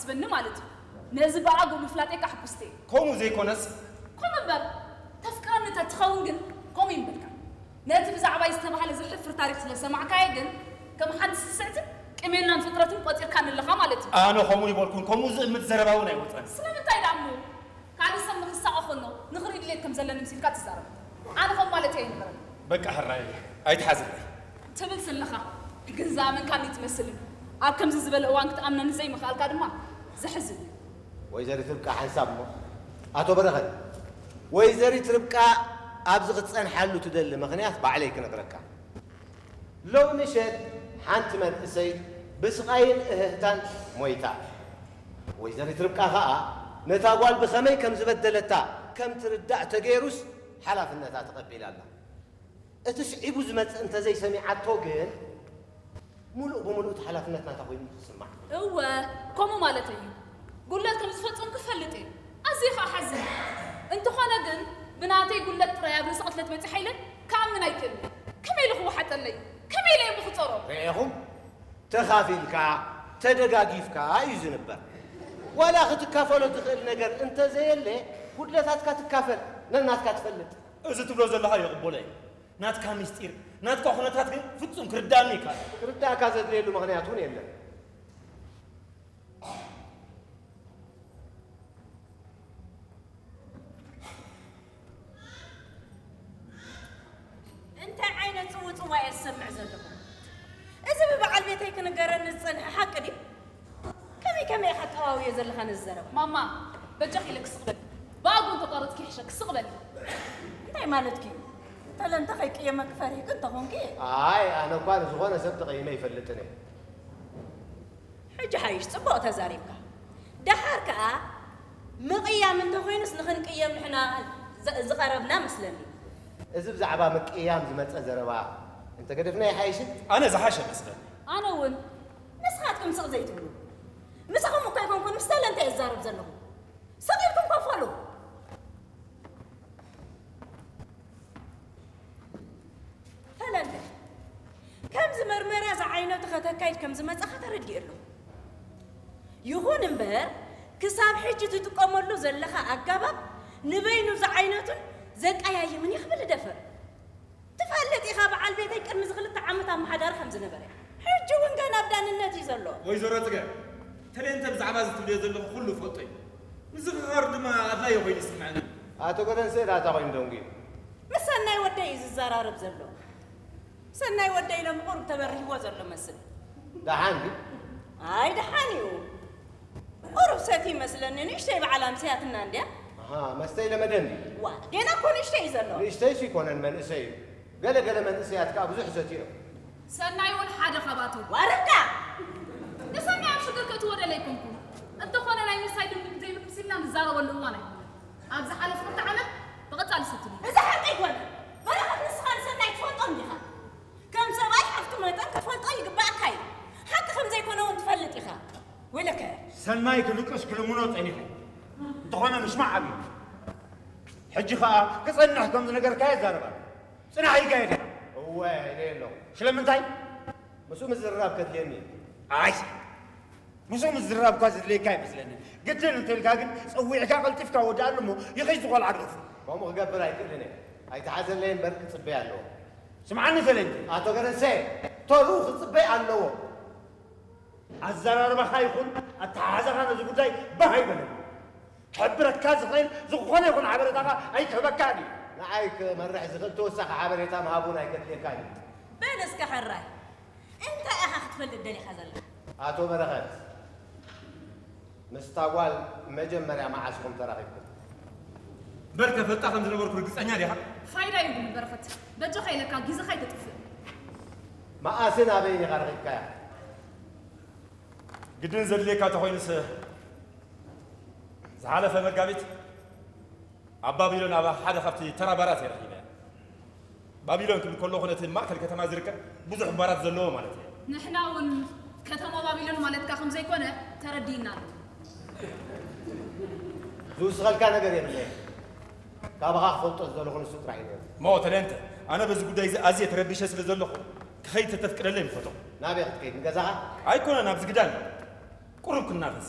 ስበኒ ማለት እዩ። ነዚ ብኣግኡ ምፍላጠይ ከዓ ሕጉስቲ እየ። ከምኡ ዘይኮነስ? ከምኡ እምበር፣ ተፍቅረኒ ተትኸውን ግን ከምኡ ይምበልካ። ነቲ ብዛዕባይ ዝተባህለ ዘሕፍር ታሪኽ ስለ ዝሰማዕካዮ ግን ከም ሓንቲ ስስዕትን ቅሜናን ፍጥረትን ቆጺርካኒ ኣለኻ ማለት እዩ። ኣነ ከምኡ ይበልኩን፣ ከምኡ ዝእምት ዘረባ እውን ኣይወጸን። ስለምንታይ ደኣ እሞ? ካልእ ሰብ ንኽሳቐ ከሎ ንኽርኢ ድሌት ከም ዘለኒ ምሲልካ ትዛረብ። ኣነ ከም ማለተይ ኣይነበረን። በቃ ሕራይ ኣይትሓዝለይ። ትብል ዘለኻ ግን ዝኣመንካኒ ትመስልን ኣብ ከምዚ ዝበለ እዋን ክትኣምነኒ ዘይምኽኣልካ ድማ ዘሕዝን እዩ። ወይዘሪት ርብቃ ሓንሳብ እሞ ኣቶ በረኸት፣ ወይዘሪት ርብቃ ኣብዚ ክትጸንሓሉ ትደሊ ምኽንያት ባዕለይ ክነግረካ። ሎሚ ምሸት ሓንቲ መንእሰይ ብስቓይን እህህታን ሞይታ። ወይዘሪት ርብቃ ኸኣ ነታ ጓል ብኸመይ ከም ዝበደለታ ከም ትርዳእ ተገይሩስ ሓላፍነታ ተቐቢላ ኣላ። እቲ ስዒቡ ዝመጽእ እንተዘይሰሚዓቶ ግን ምሉእ ብምሉእ እቲ ሓላፍነት ናታ ኮይኑ ትስማዕ። እወ፣ ከምኡ ማለተይ እዩ። ጉድለት ከም ዝፈጸምኩ እፈልጥ እየ። ኣዝየ ኸኣ ሓዝን። እንተኾነ ግን ብናተይ ጉድለት ጥራይ ኣብ ርእሲ ቅትለት በጺሓ ኢለ ክኣምን ኣይክእልን። ከመይ ኢሉ ክወሓጠለይ? ከመይ ኢለ እየ ክጸሮ? ርኢኹም? ተኻፊልካ፣ ተደጋጊፍካ እዩ ዝንበር። ዋላ ክትካፈሎ ትኽእል ነገር እንተዘየለ፣ ጉድለታትካ ትካፈል፣ ነናትካ ትፈልጥ። እዚ ትብሎ ዘለኻ ይቕበሎ እየ። ናትካ ምስጢር፣ ናትካ ኩነታት ግን ፍጹም ክርዳእኒ ይከኣል። ክርዳእካ ዘድልየሉ ምኽንያት እውን የለን። እንታይ ዓይነት ጽውጽዋይ እየ ዝሰምዕ ዘለኹ? እዚ ብበዓል ቤተይ ክንገረኒ ዝጸንሐ ሓቂ ድዩ? ከመይ ከመይ ኢኻ ጠዋውዮ ዘለኻ ነዚ ዘረባ? ማማ፣ በጃኺ ኢለኪ ስቕ በሊ። ብኣግኡ እንተቋረጽኪ ይሕሸኪ፣ ስቕ በሊ። እንታይ ማለትኪ እዩ? ተለንተ ከይቅየመኪ ፈሪህኪ እንተኾንኪ። ኣይ፣ ኣነ እኳ ንዝኾነ ሰብ ተቐይመ ኣይፈልጥን እየ። ሕጂ ሓይሽ ጽቡቕ ተዛሪብካ። ደሓር ከኣ ምቕያም እንተኾይኑስ ንኽንቅየም ንሕና ዝ-፣ ዝቐረብና መስለኒ። እዚ ብዛዕባ ምቅያም ዝመጸ ዘረባ እንተገደፍና ይሓይሽን? ኣነ ዝሓሸ መስለኒ። ኣነ እውን። ንስኻትኩም ስቕ ዘይትብሉ። ምሳኹም እኮ ኣይኮንኩን፣ ምስ ተለንተ እየ ዝዛረብ ዘለኹ። ስቕ ኢልኩም ኮፍ በሉ። ፈለንተ፣ ከምዚ መርመራ ዝዓይነቱ ከተካይድ ከም ዝመጻኻ ተረዲኡ ኣሎ። ይኹን እምበር፣ ክሳብ ሕጂ ትጥቀመሉ ዘለኻ ኣገባብ ንበይኑ ዝዓይነቱን ዘቀያይምን እዩ ክብል እደፍር። ትፈልጥ ኢኻ፣ በዓል ቤተይ ቅድሚ እዚ ክልተ ዓመት ኣመሓዳሪ ከም ዝነበረ። ሕጂ እውን ገና ኣብ ዳንነት እዩ ዘሎ። ወይዘሮ ጽገ፣ ተለንተ ብዛዕባ እዚ ትብልዮ ዘለኹ ኩሉ እፈልጦ እዩ። ምዝኽኻር ድማ ኣድላዪ ኮይኑ ይስምዐኒ። ኣቶ ገደንሰ ዳታ ኮይኑ ደንጉዩ። ምስ ሰናይ ወደይ እዩ ዝዘራረብ ዘሎ። ሰናይ ወደይ ሎሚ ቁሩብ ተበሪህዎ ዘሎ መስል። ደሓን ድዩ? ኣይ ደሓን እዩ። ቁሩብ ሰቲ ይመስለኒ፣ ንእሽተይ በዓል ኣምስያትና እንድያ። ኣሃ፣ መስተ ይለመደ እንድዩ? ዋ፣ ገና እኮ ንእሽተይ እዩ ዘሎ። ንእሽተይስ ይኮነን፣ መንእሰይ እዩ። ገለ ገለ መንእሰያት ከኣ ብዙሕ ሰትዮም። ሰናይ እውን ሓደ ካብኣቶም። ዋረዳ! ንሰናይ ኣብ ሽግር ከእትዎ ደለ ኣይኮንኩን። እንተኾነ ናይ ምስታይ ድምድም ዘይብሉ ምስ ኢልና ንዛረበሉ እዋን ኣይኮነን። ኣብ ዝሓለፈ ክልተ ዓመት ብቐጻሊ ሰትዩ። እዚ ሓቂ ኣይኮነን። በረኸት፣ ንስኻ ንሰናይ ትፈልጦ እንዲኻ። ከም ሰብኣይ ሓፍቱ መጠን ክትፈልጦ ይግባኣካ እዩ። ሓቂ ከም ዘይኮነ እውን ትፈልጥ ኢኻ። ወይለከ። ሰናይ ክልቅስ ክልምኖ ጸኒሐ። እንተኾነ ምስማዕ ኣብዩ። ሕጂ ኸኣ ክጸንሕ ከም ዝነገርካዮ ይዛረብ ኣሎ። ጽናሕ ይካየድ ኢኻ። እወ፣ ኢለ ኣለኹ። ስለምንታይ? ምስኡ ምዝርራብ ከድልየኒ እዩ። ኣይ፣ ምስኡ ምዝርራብ እኳ ዘድልየካ ኣይመስለንን። ግድን እንተልካ ግን ጸዊዕካ ቀልጢፍካ ወድኣሉ እሞ ይኸይድ ዝቖልዓ ግደፎ። ከምኡ ክገብር ኣይክእልን እየ። ኣይትሓዘለይ እምበር ክጽበይ ኣለዎ። ስምዓኒ ሰለንጂ። ኣቶ ገረንሰ፣ ተርኡ ክጽበይ ኣለዎ። ኣዘራርባኻ ይኹን ኣተሓሕዛኻ ነዚ ጉዳይ ባህ ኣይበለኒ። ክሕብረካ ዝኽእል ዝኾነ ይኹን ሓበሬታኻ ኣይክህበካን እዩ። ንዓይ ክመርሕ ዝኽእል ተወሳኺ ሓበሬታ ምሃብ እውን ኣይከድልየካን እዩ። በል እስከ ሕራይ፣ እንታይ ኢኻ ክትፈልጥ ደሊኻ ዘለኻ? ኣቶ በረኸት፣ ምስታ ጓል መጀመርያ መዓስ ኢኹም ተራኺብኩም? እምበር ከፈልጣ ከም ዝነበርኩ ርግጸኛ ዲኻ? ፋይዳ የብሉን በረኸት፣ በጃኻ ኢለካ ግዜኻ ኣይተጥፍእ። መኣስን ኣበይን ኢኻ ረኺብካያ? ግድን ዘድልየካ እንተኾይኑስ፣ ዝሓለፈ መጋቢት ኣብ ባቢሎን ኣብ ሓደ ካብቲ ተራ ባራት እየ ረኺበያ። ባቢሎን ክብል ከለኹ ነቲ ማእከል ከተማ ዝርከብ ብዙሕ ባራት ዘለዎ ማለት እየ። ንሕና እውን ከተማ ባቢሎን ማለትካ ከም ዘይኮነ ተረዲእና ኣሎ። ዝውስኸልካ ነገር የብለይን። ካባኻ ክፈልጦ ዝደለኹ ንሱ ጥራሕ እዩ ነይሩ። እሞ ተለንተ፣ ኣነ በዚ ጉዳይ እዚ ኣዝየ ተረቢሸ ስለ ዘለኹ፣ ክኸይድ ተተፍቅደለይ ምፈተኹ። ናበይ ክትከይድ? ንገዛኻ? ኣይኮነን፣ ኣብዚ ግዳን። ቁሩብ ክናፈስ።